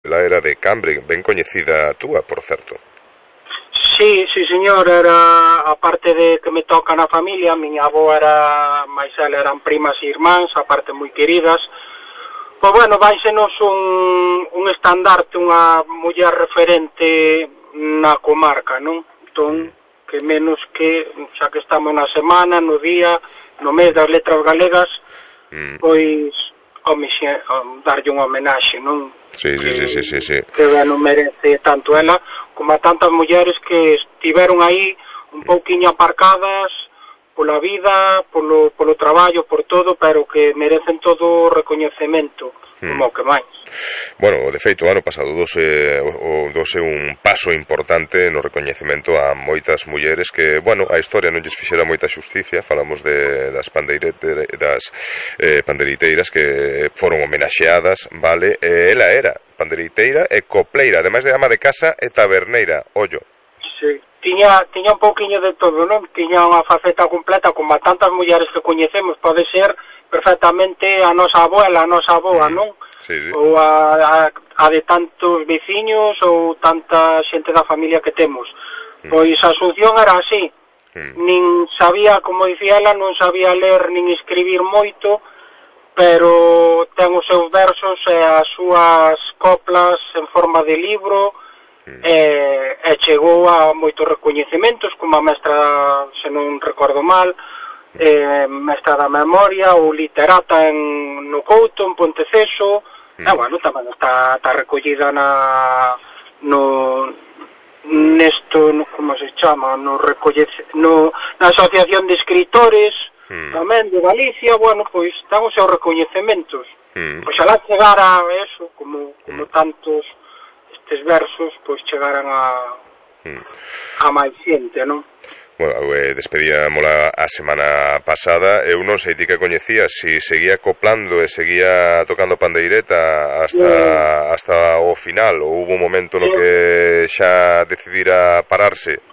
Ela era de Cambre, ben coñecida a túa, por certo. Sí, sí, señor, era, aparte de que me toca na familia, miña avó era, máis ela eran primas e irmáns, aparte moi queridas. Pois bueno, váisenos un estandarte, unha muller referente na comarca, non? Entón, que menos que, xa que estamos na semana, no día, no mes das letras galegas, pois, darlle unha homenaxe, non? Sí. Que non merece tanto ela como a tantas mulleres que estiveron aí un pouquiño aparcadas pola vida, polo traballo, por todo, pero que merecen todo o recoñecemento, como o que máis. Bueno, de feito, o ano pasado douse un paso importante no recoñecemento a moitas mulleres que, bueno, a historia non lles fixera moita xusticia. Falamos das panderiteiras que foron homenaxeadas, vale? Ela era panderiteira e copleira, ademais de ama de casa e taberneira, ollo. Sí. Tiña un pouquiño de todo, non? Tiña unha faceta completa, como a tantas mulleres que coñecemos, pode ser perfectamente a nosa abuela, a nosa avoa, non? Sí. Ou a de tantos veciños ou tanta xente da familia que temos. Pois a Asunción era así, nin sabía, como dicía ela, non sabía ler nin escribir moito, pero ten os seus versos e as súas coplas en forma de libro, e chegou a moitos recoñecementos, como a mestra, se non recordo mal, mestra da memoria ou literata no Couto, en Ponteceso, e bueno, tamén está recollida na como se chama, na Asociación de Escritores tamén de Galicia. Bueno, pois ten os seus recoñecementos. Pois alá chegara a eso, como tantos estes versos, pois chegaran a máis xente, non? Bueno, despedíamola a semana pasada. Eu non sei ti que coñecías, si seguía acoplando e seguía tocando pandeireta hasta o final, ou hubo un momento no que xa decidira plantarse?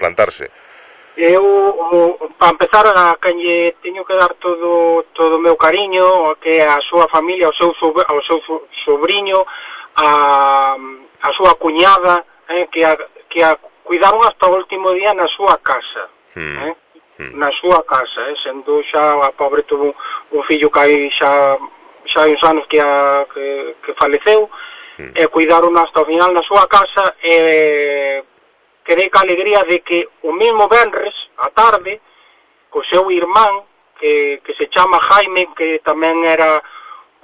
Eu, para empezar, a quen lle teño que dar todo o meu cariño, que a súa familia, ao seu sobrinho, a súa cuñada, que a cuidaron hasta o último día na súa casa. Na súa casa, sendo xa a pobre tuvo un fillo que hai xa hai uns anos que faleceu, e cuidaron hasta o final na súa casa, e quedei ca alegría de que o mesmo venres, a tarde, co seu irmán, que se chama Jaime, que tamén era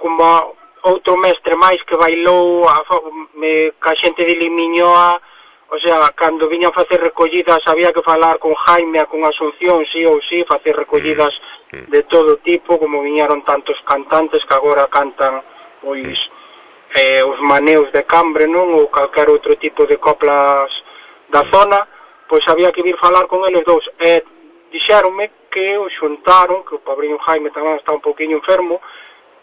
como outro mestre máis que bailou ca xente de Limiñoa. O sea, cando viñan a facer recollidas había que falar con Jaime e con Asunción, sí ou sí, facer recollidas de todo tipo, como viñeron tantos cantantes que agora cantan pois os maneos de Cambre, non? Ou calquer outro tipo de coplas da zona, pois había que vir falar con eles dous. E dixéronme que o xuntaron, que o pobriño Jaime tamén está un pouquiño enfermo,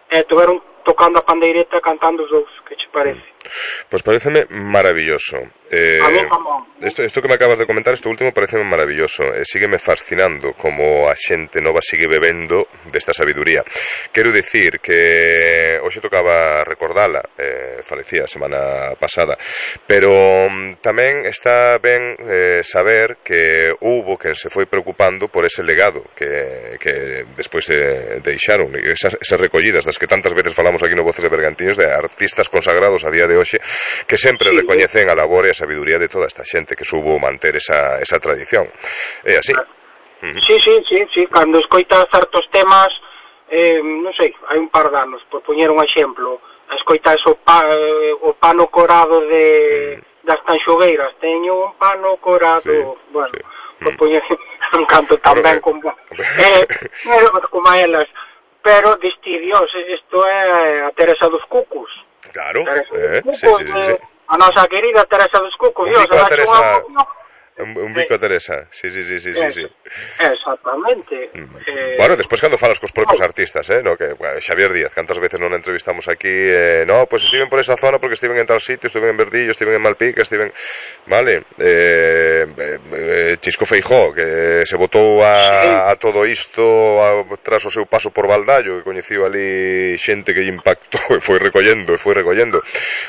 e tuveron tocando a pandeireta cantando os dous. Que che parece? Pois pareceme maravilloso. A mí tamén. Isto que me acabas de comentar, isto último, pareceme maravilloso. Sígueme fascinando como a xente nova sigue bebendo desta sabiduría. Quero dicir que hoxe tocaba recordala, falecía a semana pasada, pero tamén está ben saber que houbo quen se foi preocupando por ese legado que despois deixaron, esas recollidas das que tantas veces falamos aquí no Voces de Bergantiños, de artistas consagrados a día de hoxe que sempre recoñecen a labor e a sabiduría de toda esta xente que soubo manter esa tradición. É así. Sí, cando escoitas certos temas, non sei, hai un par de anos, por poñer un exemplo, escoitas o pano corado das tanxogueiras, teño un pano corado, bueno, por poñer un canto tamén como a elas, pero diste, Dios, isto é a Teresa dos Cucos. Claro, sí. A nosa querida Teresa dos Cucos, Dios, un bico a Teresa, sí. Exactamente. Bueno, despois cando falas cos propios artistas, no? Que Xavier Díaz, cantas veces non entrevistamos aquí, no, pues estiven por esa zona porque estiven en tal sitio, estiven en Verdillo, estiven en Malpica, estiven, vale, Chisco Feijó, que se botou a todo isto tras o seu paso por Valdallo, que coñeciu ali xente que lle impactou e foi recollendo.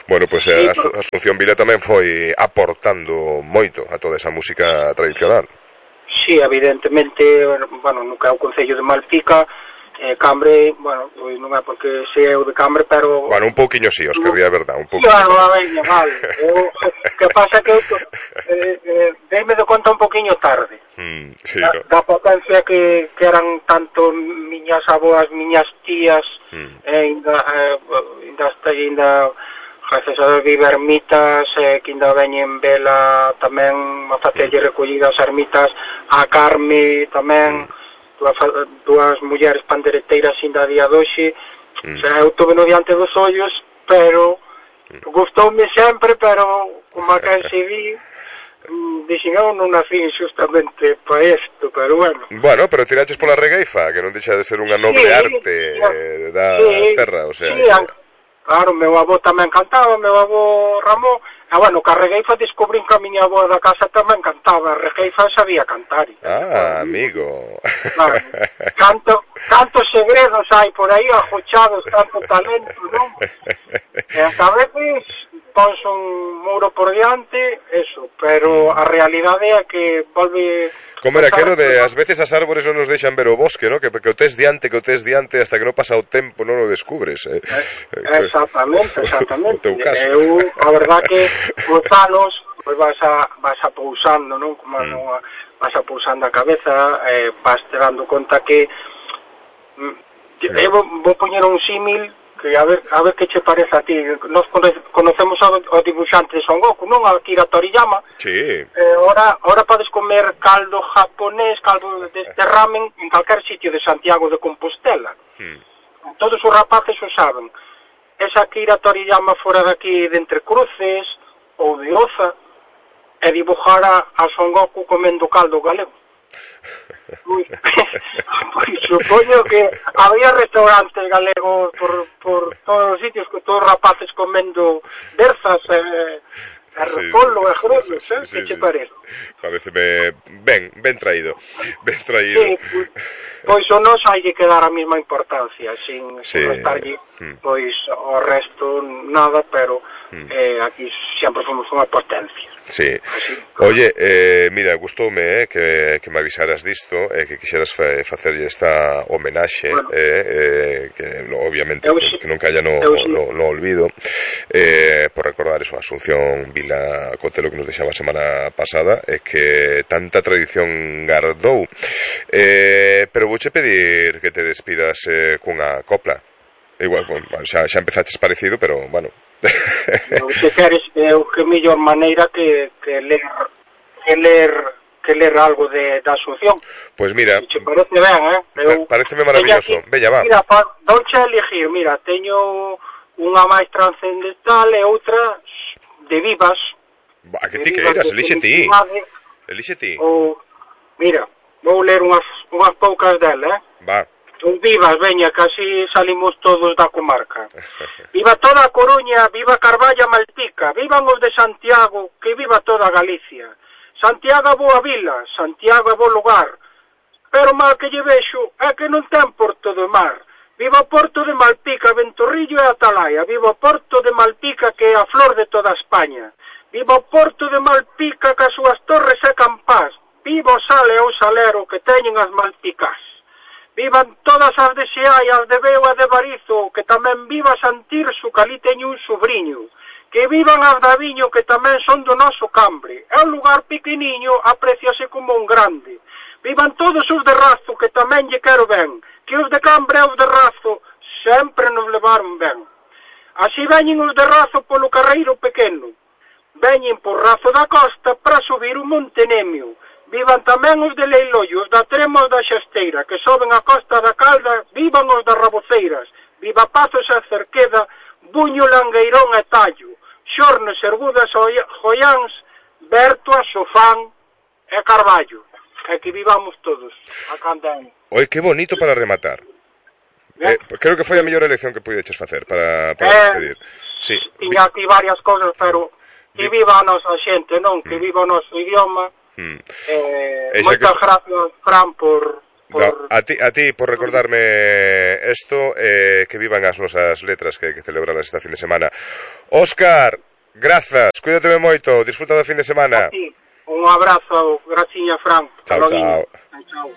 Bueno, pues Asunción Vila tamén foi aportando moito a toda esa música tradicional. Sí, evidentemente, bueno, no que é o Concello de Malpica, Cambre, bueno, non é porque sei eu de Cambre, pero... Bueno, un pouquiño sí, Óscar, di a verdad, un pouquiño. Claro, vale. Que pasa que deime de conta un pouquiño tarde. Sí, da potencia que eran tanto miñas aboas, miñas tías, ainda gracias a Deus vive ermitas, que ainda veñen vela tamén a facerlle recollidas ermitas, a Carme tamén, dúas mulleres pandereteiras ainda a día doxe. O sea, eu tuve no diante dos ollos, pero gustoume sempre, pero como a que se vi, dixen, eu non nací justamente para isto, pero bueno. Bueno, pero tiraches pola regueifa, que non deixa de ser unha noble arte da terra, o sea... Claro, meu avó tamén cantaba, meu avó Ramón, e bueno, que a regueifa descubrín que a miña avó da casa tamén cantaba, a regueifa sabía cantar. Amigo. Claro, cantos segredos hai por aí ajochados, tanto talento, non? E a veces pons un muro por diante, eso, pero a realidade é que volve... Como era aquelo de, ás veces as árbores non nos deixan ver o bosque, ¿no? Que o tes diante, hasta que non pasa o tempo non o descubres. Exactamente. Eu, a verdad que os anos pues vas a pousando, non? Como vas a pousando a cabeza, vas te dando conta que eu vou poñer un símil que a ver que che parece a ti. Nos conocemos ao dibuixante de Son Goku, non? A Akira Toriyama. Sí. Ahora podes comer caldo japonés, caldo deste ramen en calquer sitio de Santiago de Compostela. Todos os rapaces o saben. Esa Akira Toriyama fora daqui de Entre Cruces ou de Oza e dibujara a Son Goku comendo caldo galego. Pois supoño que había restaurantes galegos por todos os sitios, con todos os rapaces comendo berzas repolo e grelos, que che parece? Pareceme ben traído. Sí, pois o nos hai que dar a mesma importancia, sin restarlle pois o resto nada, pero aquí sempre fomos unha potencia. Sí. Oye, mira, gustoume que me avisaras disto, que quixeras facerlle esta homenaxe, que obviamente que non calla no olvido, por recordar eso, Asunción Vila Cotelo, que nos deixaba a semana pasada, que tanta tradición gardou. Pero vouche pedir que te despidas cunha copla. Igual, xa empezaches parecido, pero, bueno... Se queres, que mellor maneira que ler algo de Asunción. Pois mira, se parece ben, pareceme maravilloso. Bella, va. Mira, douche a elegir, mira, teño unha máis transcendental e outra de vivas. Que ti queiras, elixe ti. Mira, vou ler unhas poucas dela, Va. Vivas, veña, que así salimos todos da comarca. Viva toda a Coruña, viva Carballo, Malpica, vivan os de Santiago, que viva toda Galicia. Santiago é boa vila, Santiago é bo lugar, pero mal que lle vexo é que non ten porto de mar. Viva o porto de Malpica, Ventorrillo e Atalaya, viva o porto de Malpica que é a flor de toda España. Viva o porto de Malpica que as súas torres é Campás, viva o sal e o salero que teñen as Malpicás. Vivan todas as de Xeai, as de Veo e de Barizo, que tamén viva Santirso, que ali teño un sobrinho. Que vivan as de Aviño, que tamén son do noso Cambre. É un lugar pequeniño, apreciase como un grande. Vivan todos os de Razo, que tamén lle quero ben. Que os de Cambre e os de Razo sempre nos levaron ben. Así veñen os de Razo polo carreiro pequeno. Veñen por Razo da Costa para subir o Monte Nemio. Vivan tamén os de Leiloio, os da Trema e da Xasteira, que soben a Costa da Calda, vivan os das Raboceiras, viva Pazos e Cerqueda, Buño, Langueirón e Tallo, Xornes, Ergudas, Joiáns, Bertoa, Sofán e Carballo. e que vivamos todos a canda. Oi, que bonito para rematar. Creo que foi a mellor elección que puideches facer para despedir. Sí. Tiña aquí varias cousas, pero que viva a nosa xente, non? Que viva o noso idioma. Moitas gracias, Fran, por... A ti por recordarme esto, que vivan as nosas letras que celebrarlas esta fin de semana. Óscar, grazas, cuídate moito, disfruta do fin de semana. A ti, un abrazo, graciña, Fran. Chao, chao. Chao.